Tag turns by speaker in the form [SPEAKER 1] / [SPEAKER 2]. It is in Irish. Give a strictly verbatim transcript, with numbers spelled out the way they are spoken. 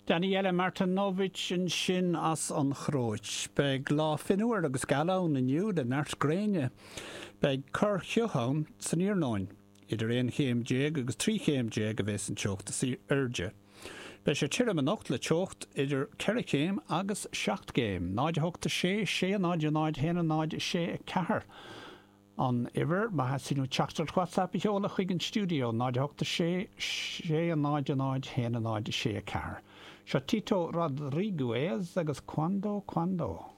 [SPEAKER 1] Danijela Martinovic ansin as an Chróit. Beidh lá fionnuar agus geal ann inniu le neart gréine. Beidh corrchioth ann san iarnóin. Idir aon chéim déag agus trí chéim déag a bheas an teocht is airde. Beidh sé tirim anocht le teocht idir ceithre chéim agus seacht gcéim, náid a hocht a sé sé náid náid haon náid sé a ceathair. An uimhir má theastaíonn uait teachtaireacht WhatsApp a sheoladh chuig an stiúideo náid a hocht a sé sé náid náid haon náid sé a ceathair. Seo Tito Rodríguez agus Cuando Cuando.